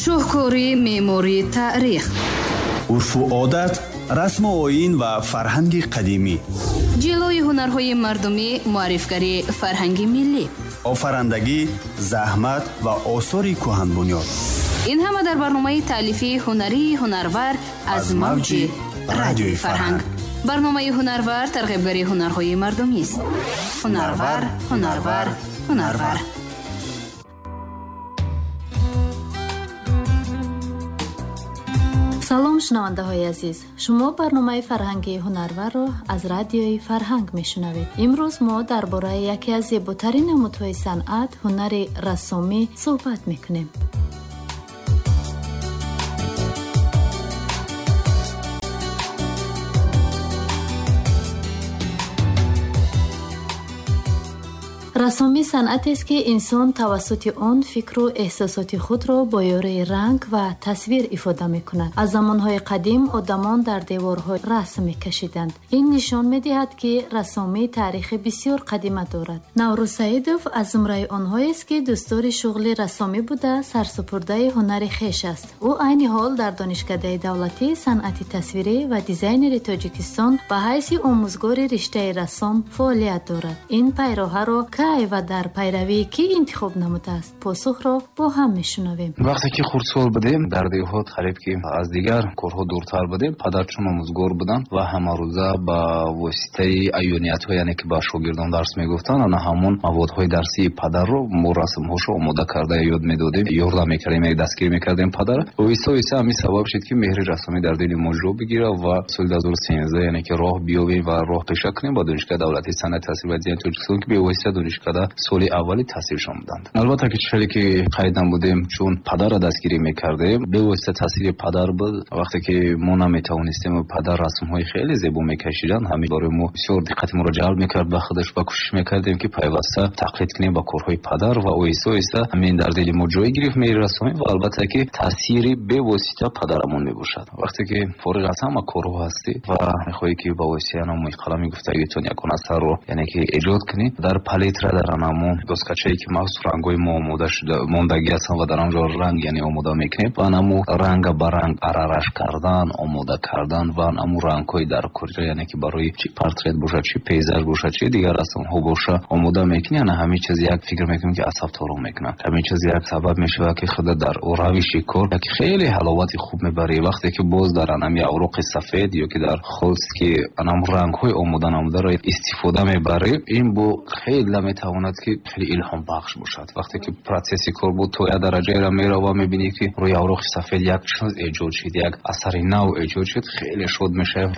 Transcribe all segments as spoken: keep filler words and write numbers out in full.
Шоҳкори меъмории таърих, урфу одат, расму оин ва фарҳанги қадимӣ, ҷилои ҳунарҳои мардумӣ, муаррифгари фарҳанги миллӣ, офарандагӣ, заҳмат ва осори кӯҳанбунёд. Ин ҳама дар барномаи таълифии ҳунарии Ҳунарвар аз мавҷи Радиои Фарҳанг. Барномаи Ҳунарвар тарғибгари ҳунарҳои мардумист. Ҳунарвар, ҳунарвар, ҳунарвар. Салом, шунавандаҳои азиз. Шумо барномаи фарҳангии Ҳунарварро аз Радиои Фарҳанг мешунавед. Имрӯз мо дар бораи яке аз зеботарин намудҳои санъат, ҳунари рассомӣ суҳбат мекунем. Рассомӣ санъатест, ки инсон тавассути он фикру эҳсосоти худро бо ёрии ранг ва тасвир ифода мекунад. Аз замонҳои қадим одамон дар деворҳо расм мекашиданд. Ин нишон медиҳад, ки рассомӣ таърихи бисёр қадима дорад. Наврӯз Саидов аз зумраи онҳоест, ки дӯстдори шуғли рассомӣ буда, сарсупурдаи ҳунари хеш аст. Ӯ айни ҳол дар Донишкадаи давлатии санъати тасвирӣ ва дизайнери Тоҷикистон ба ҳайси омӯзгори риштаи рассом фаъолият дорад. Ин пайроҳаро кай ва дар пайравии кӣ интихоб намудааст? Посухро бо ҳам мешунавем. Вақте ки хурдсол будем, дар деҳот қариб ки аз дигар корҳо дуртар будем, падар чун омӯзгор буданд ва ҳамарӯза ба воситаи аёниятҳо, яъне ки ба шогирдон дарс мегуфтанд, ана ҳамон маводҳои дарсии падарро мо расмҳошо омода карда ёд медодем, ёрдам мекардем, яъне дастгирӣ мекардем падар. Оҳиста оҳиста ҳамин сабаб шуд, ки меҳри рассомӣ дар дили мо ҷо бигирад ва соли дуҳазору сенздаҳ, яъне ки роҳ биёбем ва роҳ пеша кунем ба Донишгоҳи давлатии санъати тасвир ва дизайни Тоҷикистон, ки бевосита донишкада соли аввали таҳсилшон буданд. Албатта ки хеле ки қайд намудем, чун падарро дастгирӣ мекардем, бевосита таъсири падар буд. Вақте ки мо наметавонистем, падар расмҳои хеле зебо мекашиданд, ҳамин барои мо бисёр диққати моро ҷалб мекард ба худаш ва кӯшиш мекардем, ки пайваста тақлид кунем ба корҳои падар ва оҳиста оҳиста ҳамин дар дили мо ҷой гирифт меҳри рассомӣ ва албатта ки таъсири бевосита падарамон мебошад. Вақте ки фориғ аз ҳама корҳо ҳастӣ ва мехоҳӣ ки ба воситаи анамои қалами гуфтагитон ягон асарро, яъне ки эҷод кунӣ, дар палитра, дар анамо доскачае ки махсус рангҳои мо омода шуда мондагӣ ҳастанд ва дар он ҷо ранг, яъне омода мекунем ва анамо ранга ба ранг арараш кардан, омода кардан ва анамо рангҳои дар куҷо, яъне ки барои чи портрет бошад, чи пейзаж бошад, чи дигар расмҳо бошад, омода мекунӣ. Ана ҳамин чиз як фикр мекунем, ки асабторо мекунад. Ҳамин чиз як сабаб мешавад, ки худа дар равиши кор як хеле ҳаловати хуб мебарӣ. Вақте ки боз дар анами авроқи сафед ё ки дар холст ки анам рангҳои омода намударо истифода мебарӣ, ин бо хеле метавонад, ки хеле илҳомбахш бошад. Вақте ки процесси кор буд то як дараҷаеро мерава, мебинӣ, ки рӯи авроқи сафед як чиз эҷод шуд, як асари нав эҷод шуд, хеле шод мешавем.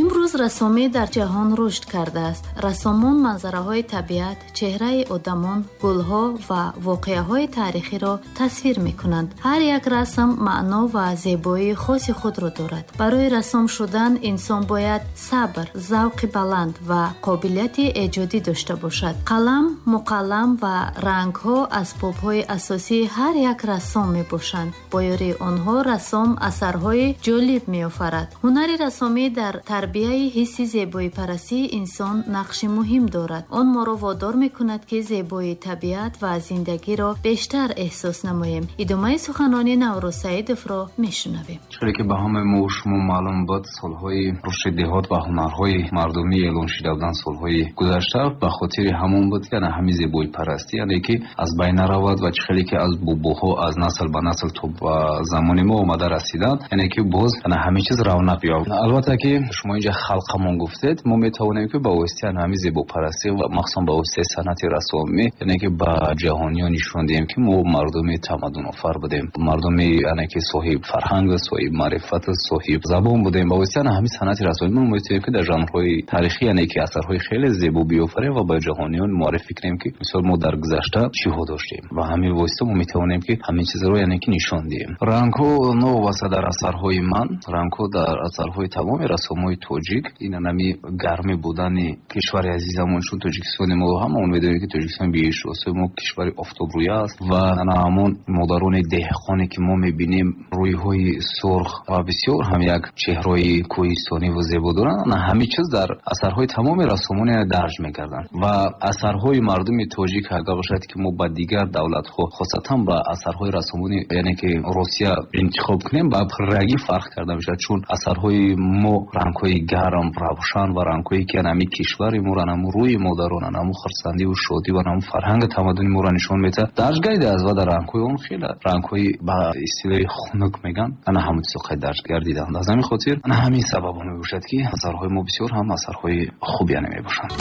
Имрӯз рассомӣ дар ҷаҳон рушд кардааст. Рассомон манзараҳои табиат, чеҳраи одамон, гулҳо ва воқеаҳои таърихиро тасвир мекунанд. Ҳар як расм маъно ва зебоии хоси худро дорад. Барои рассом шудан инсон бояд сабр, завқи баланд ва қобилияти эҷодӣ дошта бошад. Қалам, муқаллам ва рангҳо асбобҳои асосии ҳар як рассом мебошанд. Бо ёрии онҳо рассом асарҳои ҷолиб меофарад. Ҳунари рассомӣ дар тарбияи ҳисси зебоипарастии инсон нақши муҳим дорад. Он моро водор мекунад, ки зебоии табиат ва зиндагиро бештар эҳсос намоем. Идомаи суханони Наврӯз Саидовро мешунавем. Чизе ки ба ҳамаи мо шумо маълум буд, солҳои рушди деҳот ва ҳунарҳои мардумӣ эълон шуда буданд солҳои гузашта, ба хотири ҳамон буд, ки ана ҳамин зебоипарастӣ, яъне ки аз байн наравад ва чӣ хеле ки аз бобоҳо аз насл ба насл то ба замони мо омада расиданд, яъне ки боз ана ҳамин чиз равнақ ёфт. Албатта ки шумо инҷа халқамон гуфтед, мо метавонем, ки ба воситаи ҳамин зебопарастӣ ва махсусан ба воситаи санъати рассомӣ, яъне ки ба ҷаҳониён нишон диҳем, ки мо мардуми тамаддунофар будем, мардуми яъне ки соҳиби фарҳанг, соҳиби маърифат, соҳиби забон будем. Ба воситаи ҳамин санъати рассомӣ мо метавонем, ки дар жанрҳои таърихӣ, яъне ки асарҳои хеле зебо биёфарем ва ба ҷаҳониён муаррифӣ кунем, ки мисол мо дар гузашта чиҳо доштем ва ҳамин восита мо метавонем, ки ҳамин чизро, яъне ки нишон диҳем. Рангҳо новобаста дар асарҳои ман, рангҳо дар асарҳои тамоми рассомҳои тоҷик тоҷик ин анами гармӣ будани кишвари азизамон, чун Тоҷикистони мо ҳамаон медонем, ки Тоҷикистон биҳиштосои мо кишвари офтобрӯя аст ва ана ҳамон модарони деҳқоне, ки мо мебинем, рӯйҳои сурх ва бисёр ҳам як чеҳраи кӯҳистонӣ ва зебо доранд, ана ҳамин чиз дар асарҳои тамоми рассомон дарҷ мекарданд. Ва асарҳои мардуми тоҷик агар бошад, ки мо ба дигар давлатҳо, хосатан ба асарҳои рассомони, яъне ки Русия интихоб кунем, ба пуррагӣ фарқ карда мешавад, чун асарҳои мо рангҳои гарм, равшан ва рангҳое ки анами кишвари моро, анаму рӯи модарон, анаму хурсандиву шодӣ ва анаму фарҳанги тамаддуни моро нишон медиҳад, дарҷ гардидааст ва дар рангҳои он хеле рангҳои ба истилоҳи хунук мегӯянд, ана ҳамон чизо қайд дарҷ гардиданд. Аз ҳамин хотир ана ҳамин сабаб мебошад, ки асарҳои мо бисёр ҳам асарҳои хуб яъне мебошанд.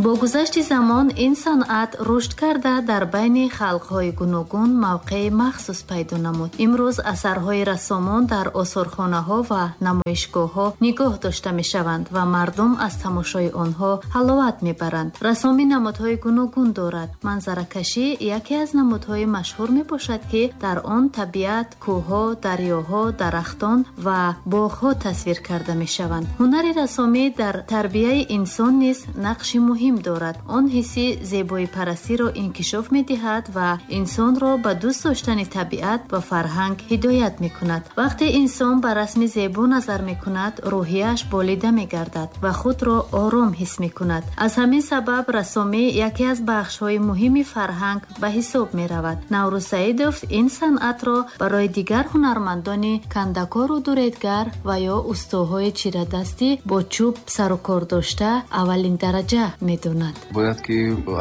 Бо гузашти замон ин санъат рушд карда дар байни халқҳои гуногун мавқеи махсус пайдо намуд. Имрӯз асарҳои рассомон дар осорхонаҳо ва намоишгоҳҳо нигоҳ дошта мешаванд ва мардум аз тамошои онҳо ҳаловат мебаранд. Рассомӣ намудҳои гуногун дорад. Манзаракашӣ яке аз намудҳои машҳур мебошад, ки дар он табиат, кӯҳҳо, дарёҳо, дарахтон ва боғҳо тасвир карда мешаванд. Ҳунари рассомӣ дар тарбияи инсон низ нақши муҳим дорад. Он ҳисси зебоипарастиро инкишоф медиҳад ва инсонро ба дӯст доштани табиат ва фарҳанг ҳидоят мекунад. Вақте инсон ба расми зебо назар мекунад, рӯҳияш болида мегардад ва худро ором ҳис мекунад. Аз ҳамин сабаб рассомӣ яке аз бахшҳои муҳими фарҳанг ба ҳисоб меравад. Наврӯз Саидов ин санъатро барои дигар ҳунармандони кандакору дуредгар ва ё устоҳои чирадастӣ бо чӯб сарукор дошта аввалин дараҷа медонад. Бояд ки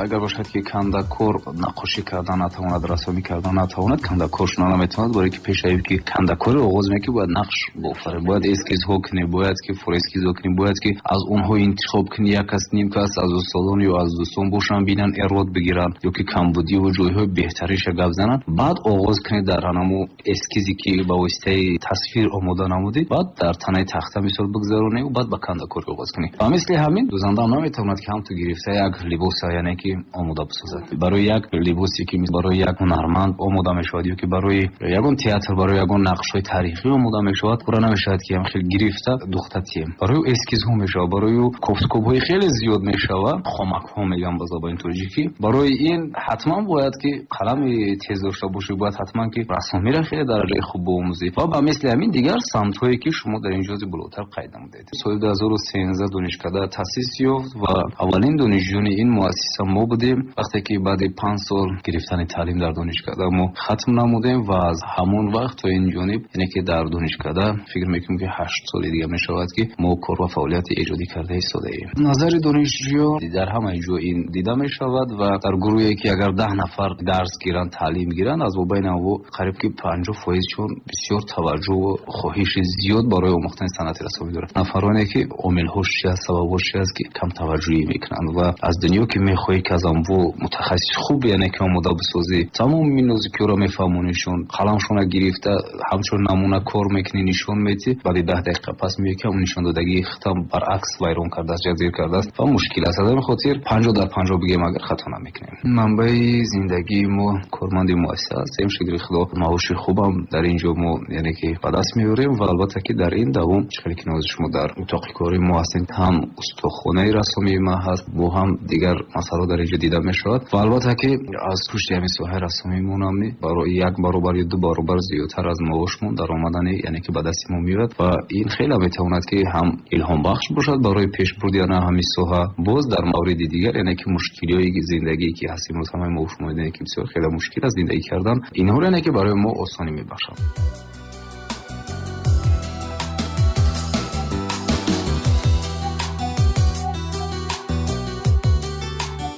агар бошад, ки кандакор наққошӣ кардан натавонад, рассомӣ кардан натавонад, кандакор шуда наметавонад, барои ки пеш аз ки кандакорро оғоз мекунӣ, бояд нақш бофарӣ, бояд эскизҳо кунӣ, бояд ки форескизҳо кунӣ, бояд ки аз онҳо интихоб кунӣ, як кас, ним кас аз устодон ё аз дӯстон бошанд, бинанд, эрод бигиранд ё ки камбудиву ҷойҳои беҳтариша гап зананд, баъд оғоз кунӣ дар ҳанаму эскизе, ки ба воситаи тасвир омода намудӣ, баъд дар танаи тахта мисол бигзаронӣ, баъд ба кандакорӣ оғоз кунӣ. Ва мисли ҳамин дӯзанда ҳам наметавонад, ки ҳам ту гирифта як либоса, яъне ки омода бисозад. Барои як либосе, ки барои як ҳунарманд омода мешавад ё ки барои ягон театр, барои ягон нақшҳои таърихӣ омода мешавад, пурра намешавад, ки ҳам хел гирифта духта тием. Барои ӯ эскизҳо мешавад, барои ӯ кофткобҳои хеле зиёд мешавад, хомакҳо мегӯям ба забони тоҷикӣ. Барои ин ҳатман бояд, ки қалами тез дошта бошӣ, бояд ҳатман ки рассомиро хеле дараҷаи хуб биомӯзӣ ва ба мисли ҳамин дигар самтҳое, ки шумо дар ин ҷози болотар қайд намудед. Соли ду ҳазору сенздаҳ донишкада таъсис ёфт ва аввалин донишҷӯёни ин муассиса мо будем. Вақте ки баъди панҷ сол гирифтани таълим дар донишкада мо хатм намудем ва аз ҳамон вақт то ин ҷониб, яъне ки дар донишкада фикр мекунем, ки ҳашт соли дига мешавад, ки мо кор ва фаъолияти эҷодӣ карда истодаем. Назари донишҷӯён дар ҳамаи ҷо ин дида мешавад ва дар гурӯҳе, ки агар даҳ нафар дарс гиранд, таълим гиранд, аз мобайни онҳо қариб ки панҷоҳ фоизшон бисёр таваҷҷӯҳу хоҳиши зиёд барои омӯхтани санъати рассомӣ доранд. Нафароне, ки омилҳош чи аст, сабабҳош чи аст, ки кам таваҷҷӯҳӣ мекунанд ва аз дунё ки мехоҳӣ, ки аз анво мутахассиси хуб, яъне ки омода бисозӣ, тамоми нозикиҳоро мефаҳмонишон, қаламшона гирифта ҳамчун намуна кор мекунӣ, нишон медиҳӣ, баъди даҳ дақиқа пас меоӣ, ки ҳамон нишондодагии худам баръакс вайрон кардааст, ҷазир кардааст ва мушкил аст. Аз ҳамин хотир панҷоҳ дар панҷоҳ бигем агар хато намекунем. Манбаи зиндагии мо корманди муассиса ҳастем, шукри Худо маоши хубам дар ин ҷо мо, яъне ки ба даст меорем ва албатта ки дар ин давом, чӣ хеле ки нози шумо дар утоқи кори мо ҳастем, ҳам устохонаи рассомии ма ҳаст, бо ҳам дигар масъалаҳо дар ин ҷо дида мешавад ва албатта ки аз пушти ҳамин соҳаи рассомиимонам барои як баробар ё ду баробар зиёдтар аз маошмон даромадани, яъне ки ба дасти мо меояд ва ин хеле метавонад, ки ҳам илҳомбахш бошад барои пешбурди ана ҳамин соҳа. Боз дар мавриди дигар, яъне ки мушкилиҳои зиндагие, ки ҳаст имрӯз, ҳамаи мо шумо медонем, ки бисёр хеле мушкил аст зиндагӣ кардан, инҳоро яъне ки барои мо осонӣ мебахшад.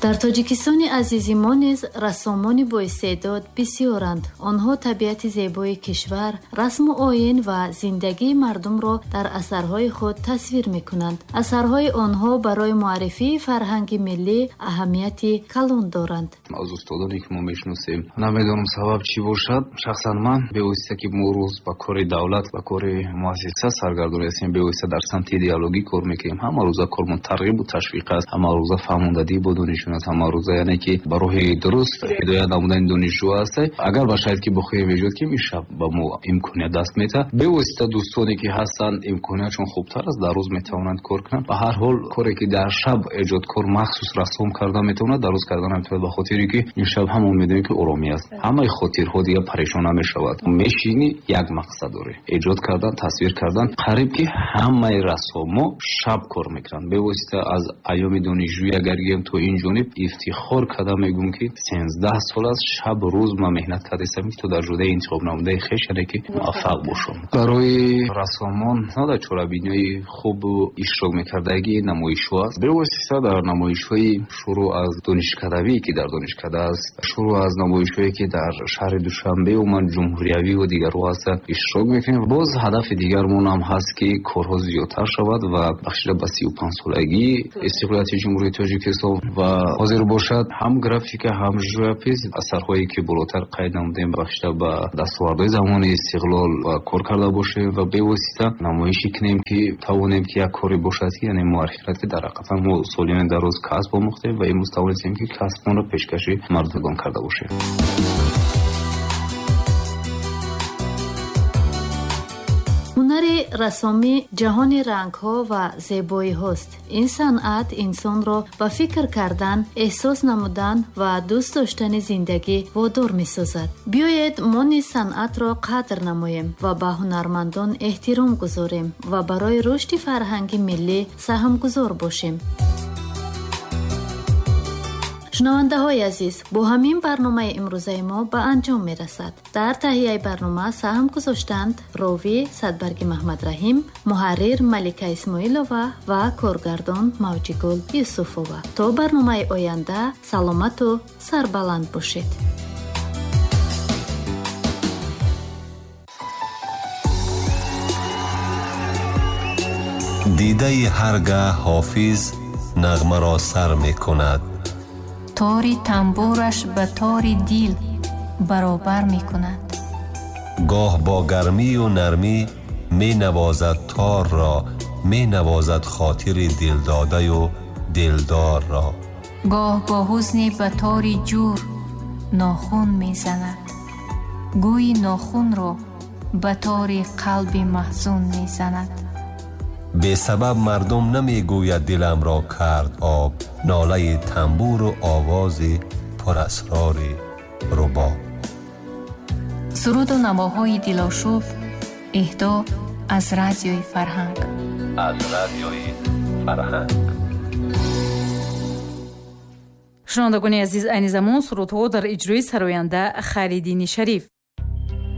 Дар Тоҷикистони азизи мо низ рассомони боистеъдод бисёранд. Онҳо табиати зебои кишвар, расму оин ва зиндагии мардумро дар асарҳои худ тасвир мекунанд. Асарҳои онҳо барои муаррифии фарҳанги миллӣ аҳамияти калон доранд. Аз устодоне, ки мо мешиносем, намедонам сабаб чӣ бошад. Шахсан ман бевосита, ки мо рӯз ба кори давлат, ба кори муассиса саргардон ҳастем, бевосита дар самти идеологӣ кор мекунем. Ҳама рӯза кормон тарғибу ташвиқ аст, ҳама рӯза фаҳмондадӣ бо донишҷӯён. мекунад ҳамарӯза, яъне ки ба роҳи дуруст ҳидоят намудани донишҷӯ аст. Агар ба шароите ки бихоҳем эҷод кунем, ин шаб ба мо имконият даст медиҳад. Бевосита дӯстоне ки ҳастанд, имкониятшон хубтар аст, дар рӯз метавонанд кор кунанд. Ба ҳар ҳол коре ки дар шаб эҷодкор махсус расм карда метавонад, дар рӯз карда наметавонад, ба хотире ки ин шаб ҳамон медонем ки оромӣ аст, ҳамаи хотирҳо дигар парешон намешавад. Мешинӣ як мақсад дорӣ, эҷод кардан, тасвир кардан. Қариб ки ҳамаи расмҳо шаб кор мекунанд. Бевосита аз айёми донишҷӯӣ агар гӯем то ин ҷониб ифтихор карда мегӯм ки сенздаҳ сол аст шаб рӯз ман меҳнат кардаистам ки то дар ҷодаи интихоб намудаи хеш яъне ки муваффақ бошам. Барои рассомон дар чорабиниҳои хубу иштирок мекардагӣ намоишҳо аст. Бевосита дар намоишҳои шурӯъ аз донишкадавӣ ки дар донишкада аст, шурӯъ аз намоишҳое ки дар шаҳри Душанбе умуман ҷумҳуриявӣ ва дигарҳо ҳастанд иштирок мекунем. Боз ҳадафи дигармон ҳам ҳаст ки корҳо зиёдтар шавад ва бахшида ба сию панҷ солагии истиқлолияти Ҷумҳурии Тоҷикистон ва ҳозир бошад ҳам графика ҳам живопис асарҳое ки болотар қайд намудем бахшида ба дастовардҳои замони истиқлол ва кор карда бошем ва бевосита намоишӣ кунем ки тавонем ки як коре бошад ки яъне муаррифӣ кунад ки дар ҳақиқатан мо солиёни дар рӯз касб омӯхтем ва имрӯз тавонистем ки касбонро пешкаши мардумон карда бошем. Ҳунари рассомӣ ҷаҳони рангҳо ва зебоиҳост. Ин санъат инсонро ба фикр кардан, эҳсос намудан ва дӯст доштани зиндагӣ водор месозад. Биёед мо низ санъатро қадр намоем ва ба ҳунармандон эҳтиром гузорем ва барои рушди фарҳанги миллӣ саҳмгузор бошем. Шунавандаҳои азиз, бо ҳамин барномаи имрӯзаи мо ба анҷом мерасад. Дар таҳияи барнома саҳм гузоштанд ровӣ Садбарги Маҳмадраҳим, муҳаррир Малика Исмоилова ва коргардон Мавҷигул Юсуфова. То барномаи оянда саломату сарбаланд бошед. Дидаи ҳаргаҳ ҳофиз нағмаро сар мекунад, тори тамбураш ба тори дил баробар мекунад. Гоҳ бо гармию нармӣ менавозад торро, менавозад хотири дилдодаю дилдорро. Гоҳ бо ҳузне ба тори ҷур нохун мезанад, гӯйи нохунро ба тори қалби маҳзун мезанад. Бесабаб мардум намегӯяд диламро кард об, нолаи тамбуру овози пурасрори рубоб. Суруду навоҳои дилошуб эҳдо аз радиои фарҳанг. Аз радиои фарҳанг. Шунавандагони азиз, айни замон сурудҳо дар иҷрои сароянда Хайриддини Шариф.